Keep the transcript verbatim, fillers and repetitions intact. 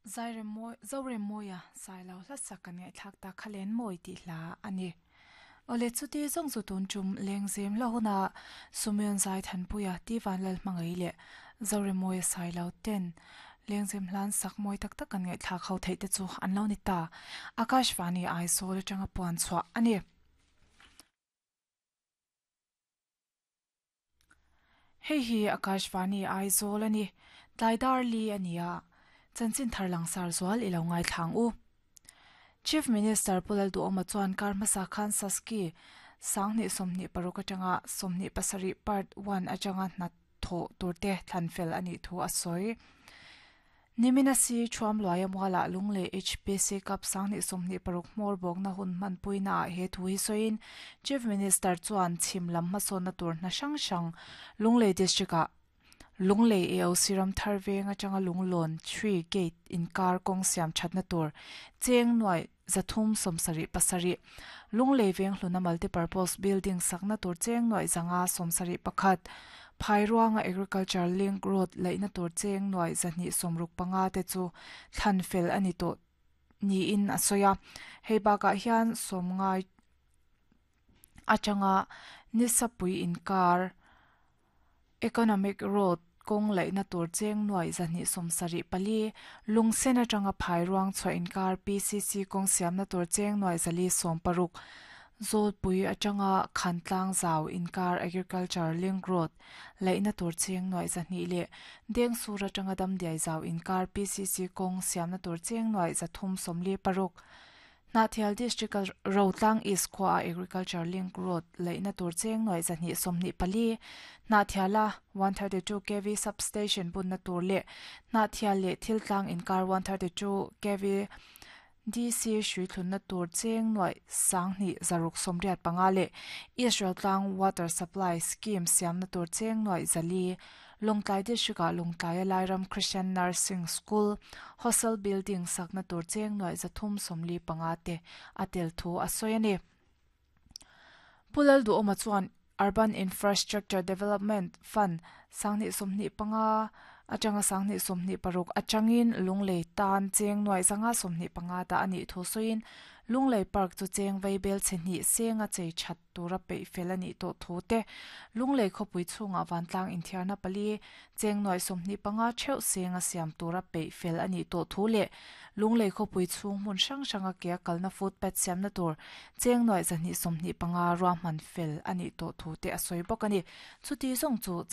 Zoremawia Sailo hla sak kan ngaihthlak ta khalen mawi tih hla a ni. Awle chuti zawng chu tun tum lengzem la huna Sumion Zai Thanpuia Tivan Lal hmangaih leh Zoremawia Sailo ten lengzem hlan sak mawi tak tak kan ngaihthlak ho theih te chu an lo ni ta. Akashvani Aizawl atanga puan chhuah a ni. Hei hi Akashvani Aizawl a ni. Tlaidar li a ni a. Chanchin thar langsar zual i lo ngai thlang u. Chief Minister Pulal Duhoma chuan kar hmasa khan Saski sanghnih sawmhnih paruk atanga sawmhnih pasarih part one atanga hna thawh turte thlan fel a nih thu a sawi. Nimina si thuam luaia muala lungle H P C Cup sanghnih sawmhnih paruk hmawr bawkna hun hman puina ah he thu hi sawiin Chief Minister chuan chhim lam hmasawnna tur hna hrang hrang Lunglei District ah Lunglei A O C ram thar veng atanga Lunglawn three gate inkar kawng siam thatna tur cheng nuai zathum sawmsarih pasarih Lunglei veng hluna multipurpose building sakna tur cheng nuai zanga sawmsarih pakhat Phairuanga Agriculture Link Road laihna tur cheng nuai zahnih sawmruk panga te chu thlan fel a ni tawh niin a sawi a. Hei bakah hian sawmngai atanga nisapui inkar Economic Road kawng laihna tur cheng nuai zahnih sawmsarih pali Lungsen atanga Phairuang chhuah inkar P C C kawng siamna tur cheng nuai zali sawm paruk Zawlpui atanga Khantlang zau inkar Agriculture Link Road laihna tur cheng nuai zahnih leh Dengsur atanga Damdiai zau inkar P C C kawng siamna tur cheng nuai zathum sawmli paruk Hnahthial District Rotlang East khua Agriculture Link Road laihna tur cheng nuai zahnih sawmhnih pali Hnahthiala one thirty two K V substation bunna tur leh Hnahthial leh Thiltlang inkar one thirty two K V D C hrui thlunna tur cheng nuai sanghnih zaruk sawmriat panga leh Israel Tlang Water Supply Scheme siamna tur cheng nuai zali Longtlai District ah Longtlaia Lairam Christian Nursing School Hostel Building sakna tur cheng nuai zathum sawmli panga te a tel thu a sawi a ni. Pulal Duhoma chuan Urban Infrastructure Development Fund sanghnih sawmhnih panga atanga sanghnih sawmhnih paruk atangin Lunglei tan cheng nuai zanga sawmhnih panga ta a nih thu sawiin Lunglei Park chu cheng veibel chhehnih senga chei that tura peih fel a nih tawh thu te Lunglei khawpui chhungah vantlang inthiarna pali cheng nuai sawmhnih panga theuh senga siam tura peih fel a nih tawh thu leh Lunglei khawpui chhung hmun hrang hranga ke a kalna footpath siamna tur cheng nuai zahnih sawmhnih panga ruahman fel a nih tawh thu te a sawi bawk a ni. Chuti zawng chu